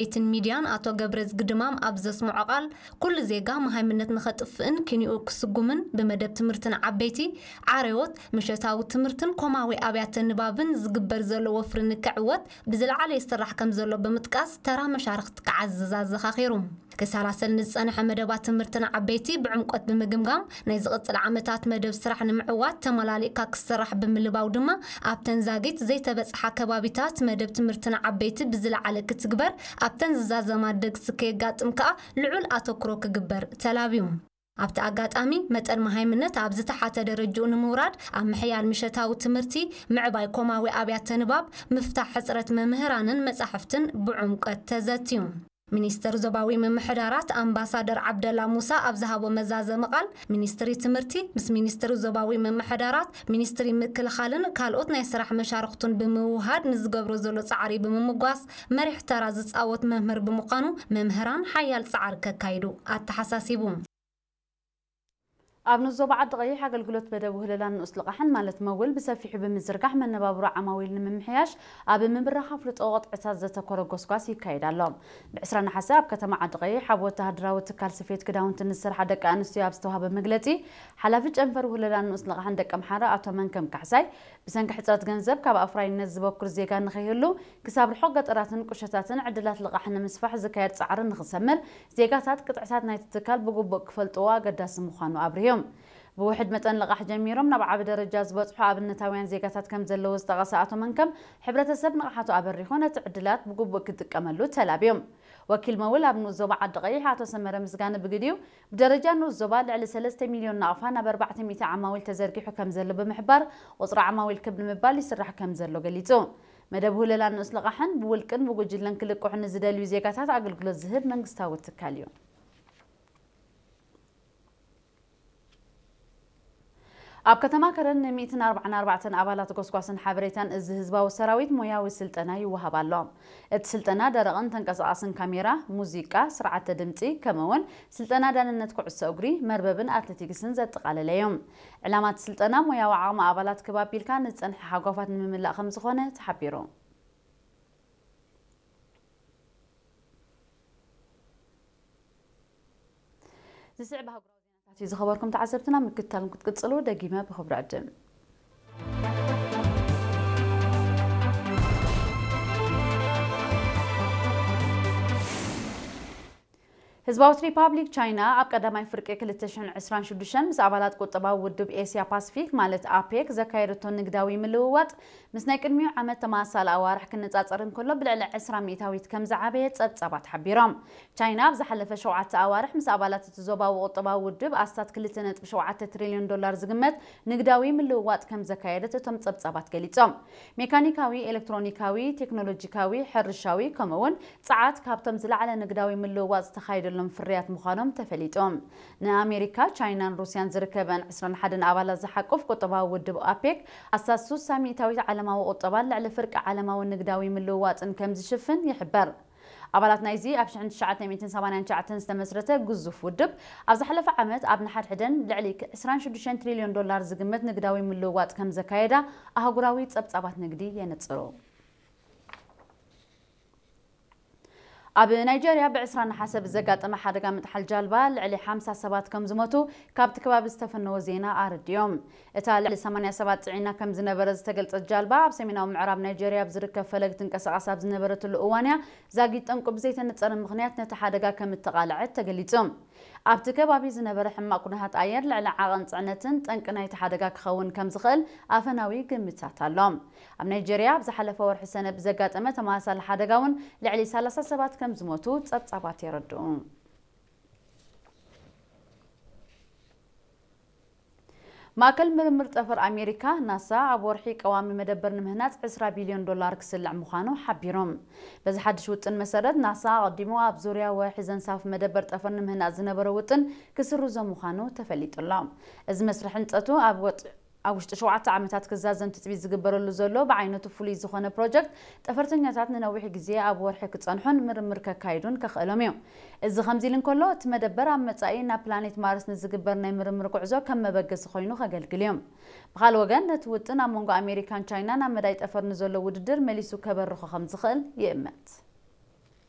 ቤትን ሚድያን ኣቶ ገብረዝጊ ድማም ኣብ ዘስምዖ ቃል፣ ኩሉ ዜጋ መሃይምነት ንኸጥፍእን ኪንኡ ክስጉምን ብመደብ ትምህርትን ዓበይቲ፣ ዓረዎት፣ ምሸታዊ ትምህርትን ኮማዊ ኣብያተ ንባብን ዝግበር ዘሎ ወፍሪ ንክዕወት ብዝለዓለ ይስራሕ ከም ዘሎ ብምጥቃስ፣ ተራ መሻርኽቲ ክዓዝዝ ኣዘኻኺሩ። ክሰላሰል ንዝጸንሐ መደባት ትምህርትን ዓበይቲ ብዕምቆት ብምግምጋም፣ ናይ ዝቕጽል ዓመታት መደብ ስራሕ ንምዕዋት ተመላሊእካ ክስራሕ ብምልባው ድማ፣ ኣብተን ዛጊት ዘይተበጽሓ ከባቢታት መደብ ትምህርትን ዓበይቲ ብዝለዓለ ክትግበር፣ ኣብተን ዝዛዘማ ደግሲ ከየጋጥም ከኣ ልዑል ኣተኩሮ ክግበር ተላብዩ። ኣብቲ ኣጋጣሚ፣ መጠን መሃይምነት ኣብ ዝተሓተ ደረጅኡ ንምውራድ፣ ኣብ ምሕያል ምሸታዊ ትምህርቲ፣ ምዕባይ ኮማዊ ኣብያተ ንባብ፣ ምፍታሕ ሕጽረት መምህራንን መጻሕፍትን ብዕምቆት ተዘትዩ። ሚኒስትር ዞባዊ ምምሕዳራት ኣምባሳደር ዓብደላ ሙሳ ኣብ ዝሃቦ መዛዘሚ ቃል፣ ሚኒስትሪ ትምህርቲ ምስ ሚኒስትሪ ዞባዊ ምምሕዳራት፣ ሚኒስትሪ ምክልኻልን ካልኦት ናይ ስራሕ መሻርኽቱን ብምውሃድ ንዝገብሮ ዘሎ ጻዕሪ ብምምጓስ፣ መሪሕ ተራ ዝጻወት መምህር ብምዃኑ፣ መምህራን ሓያል ጻዕሪ ከካይዱ ኣተሓሳሲቡ። ኣብ ንኡስ ዞባ ዓዲ ቀይሕ ኣገልግሎት መደብ ውህለላን ንኡስ ልቓሕን ማለት መውል ብሰፊሑ ብምዝርጋሕ መነባብሮ ዓማዊል ንምምሕያሽ ኣብ ምብራኽ ኣፍልጦ ቅጥዕታት ዘተኮረ ጎስጓስ ይካየድ ኣሎ። ብ ዕስራ ነሓሰ ኣብ ከተማ ዓዲ ቀይሕ ኣብ ወተሃደራዊ ትካል ስፌት ክዳውንቲ ንዝሰርሓ ደቂ ኣንስትዮ ኣብ ዝተዋህበ መግለጺ፣ ሓላፊ ጨንፈር ውህለላን ንኡስ ልቓሕን ደቂ ኣምሓራ ኣቶ መንከም ካሕሳይ፣ ብሰንኪ ሕጽረት ገንዘብ ካብ ኣፍራይነት ዝበኩር ዜጋ ንኸይህሉ፣ ክሳብ ርሑቕ ገጠራትን ቁሸታትን ዕድላት ልቓሕ ንምስፋሕ ዝካየድ ጻዕሪ ንኽሰምር፣ ዜጋታት ቅጥዕታት ናይቲ ትካል ብግቡእ ክፈልጥዎ ኣገዳሲ ምዃኑ ኣብሪሆም። ብውሕድ መጠን ልቓሕ ጀሚሮም ናብ ዓቢ ደረጃ ዝበጽሑ ኣብነታውያን ዜጋታት ከም ዘለዉ ዝጠቐሰ ኣቶ መንከም፣ ሕብረተሰብ ንቕሓቱ ኣበሪኹ ነቲ ዕድላት ብግቡእ ክጥቀመሉ ተላብዮም። ወኪል መውል ኣብ ንኡስ ዞባ ዓዲ ቀይሕ ኣቶ ሰመረ ምስጋነ ብግዲኡ፣ ብደረጃ ንኡስ ዞባ ልዕሊ ሰለስተ ሚልዮን ናቕፋ ናብ ኣርባዕተ ሚእቲ ዓማዊል ተዘርጊሑ ከም ዘሎ ብምሕባር፣ ቁጽሪ ዓማዊል ክብ ንምባል ይስራሕ ከም ዘሎ ገሊጹ። መደብ ውህለላን ንኡስ ልቓሕን ብውልቅን ብጉጅለን ክልቅሑ ንዝደልዩ ዜጋታት ኣገልግሎት ዝህብ መንግስታዊ ትካል እዩ። ኣብ ከተማ ከረን ን ሚእትን ኣርባዓን ኣርባዕተን ኣባላት ጎስጓስን ሓበሬታን እዚ ህዝባዊ ሰራዊት ሞያዊ ስልጠና ይወሃብ ኣሎ። እቲ ስልጠና ደረቕን ተንቀሳቓስን ካሜራ፣ ሙዚቃ፣ ስርዓተ ድምጺ፣ ከምኡ'ውን ስልጠና ዳንነት ኩዕሶ እግሪ፣ መርበብን ኣትሌቲክስን ዘጠቓለለ እዩ። ዕላማ እቲ ስልጠና ሞያዊ ዓቕሚ ኣባላት ክብ ኣቢልካ ንዝጸንሐ ሃጓፋት ንምምላእ ከም ዝኾነ ተሓቢሩ። ዝስዕብ ኣህጉራዊ ዜናታት እዩ ዝኸበርኩም ተዓዘብትና፣ ምክትታልኩም ክትቅጽሉ ደጊመ ብኽብሪ ዕድም። ህዝባዊት ሪፓብሊክ ቻይና ኣብ ቀዳማይ ፍርቂ ክልተ ሽሕን ዕስራን ሽዱሽተን ምስ ኣባላት ቁጠባዊ ውድብ ኤስያ ፓሲፊክ ማለት ኣፔክ ዘካየደቶ ንግዳዊ ምልውዋጥ ምስ ናይ ቅድሚኡ ዓመት ተመሳሳሊ ኣዋርሕ ክነጻጸር እንከሎ ብልዕሊ ዕስራ ሚእታዊት ከም ዝዓበየ ጸብጻባት ሓቢሮም። ቻይና ኣብ ዝሓለፈ ሸውዓተ ኣዋርሕ ምስ ኣባላት እቲ ዞባዊ ቁጠባዊ ውድብ ኣስታት ክልተ ነጥቢ ሸውዓተ ትሪልዮን ዶላር ዝግመት ንግዳዊ ምልውዋጥ ከም ዘካየደት እቶም ጸብጻባት ገሊጾም። ሜካኒካዊ፣ ኤሌክትሮኒካዊ፣ ቴክኖሎጂካዊ፣ ሕርሻዊ፣ ከምኡ'ውን ጸዓት ካብቶም ዝለዓለ ንግዳዊ ምልውዋጥ ዝተኻየደሎም ፍርያት ምዃኖም ተፈሊጡ። ንኣሜሪካ፣ ቻይናን ሩስያን ዝርከበን ዕስራን ሓደን ኣባላት ዝሓቁፍ ቁጠባዊ ውድብ ኣፔክ ኣስታት ስሳ ሚእታዊት ዓለማዊ ቁጠባን ልዕሊ ፍርቂ ዓለማዊ ንግዳዊ ምልውዋጥን ከም ዝሽፍን ይሕበር። ኣባላት ናይዚ ኣብ ሽሕን ትሽዓተ ሚእትን ሰማንያን ትሽዓተን ዝተመስረተ ግዙፍ ውድብ፣ ኣብ ዝሓለፈ ዓመት ኣብ ንሓድሕደን ልዕሊ ዕስራን ሽዱሽተን ትሪልዮን ዶላር ዝግመት ንግዳዊ ምልውዋጥ ከም ዘካየዳ ኣህጉራዊ ጸብጻባት ንግዲ የነጽሩ። ኣብ ናይጀርያ ብ ዕስራ ነሓሰ ብዘጋጠመ ሓደጋ ምጥሓል ጃልባ ልዕሊ ሓምሳ ሰባት ከም ዝሞቱ ካብቲ ከባቢ ዝተፈነወ ዜና ኣረዲኦም። እታ ልዕሊ ሰማንያ ሰባት ጽዒና ከም ዝነበረ ዝተገልጸት ጃልባ፣ ኣብ ሰሜናዊ ምዕራብ ናይጀርያ ኣብ ዝርከብ ፈለግ ትንቀሳቐስ ኣብ ዝነበረትሉ እዋን እያ ዛጊት ጠንቁ ብዘይተነጸረ ምኽንያት ነቲ ሓደጋ ከም እተቓልዐት ተገሊጹ። ኣብቲ ከባቢ ዝነበረ ሕማቕ ኩነታት ኣየር ልዕሊ ዓቐን ጽዕነትን ጠንቂ ናይቲ ሓደጋ ክኸውን ከም ዝኽእል ኣፈናዊ ግምታት ኣሎ። ኣብ ናይጀርያ ኣብ ዝሓለፈ ወርሒ ሰነ ብዘጋጠመ ተመሳሳሊ ሓደጋ እውን ልዕሊ ሰላሳ ሰባት ከም ዝሞቱ ጸብጻባት የረድኡ። ማእከል ምርምር ጠፈር ኣሜሪካ፣ ናሳ፣ ኣብ ወርሒ ቀዋሚ መደበር ንምህናጽ ዕስራ ቢልዮን ዶላር ክስልዕ ምዃኑ ሓቢሮም። በዚ ሓድሽ ውጥን መሰረት፣ ናሳ ኣቐዲሙ ኣብ ዙርያ ወርሒ ዘንሳፍ መደበር ጠፈር ንምህናጽ ዝነበሮ ውጥን ክስርዞ ምዃኑ ተፈሊጡ ኣሎ። እዚ መስርሕ ህንጸቱ ኣብ ወጥ-፣ ኣብ ውሽጢ ሸውዓተ ዓመታት ክዛዘም ትጽቢት ዝግበረሉ ዘሎ ብዓይነቱ ፍሉይ ዝኾነ ፕሮጀክት፣ ጠፈርተኛታት ንነዊሕ ግዜ ኣብ ወርሒ ክጸንሑን ምርምር ከካይዱን ከኽእሎም እዩ። እዚ ከምዚ ኢሉ እንከሎ፣ እቲ መደበር ኣብ መጻኢ ናብ ፕላኔት ማርስ ንዝግበር ናይ ምርምር ጉዕዞ ከም መበገሲ ኮይኑ ከገልግል እዩ። ብኻልእ ወገን፣ ነቲ ውጥን ኣብ መንጎ ኣሜሪካን ቻይናን ኣብ መዳይ ጠፈር ንዘሎ ውድድር መሊሱ ከበርኾ ከም ዝኽእል ይእመት።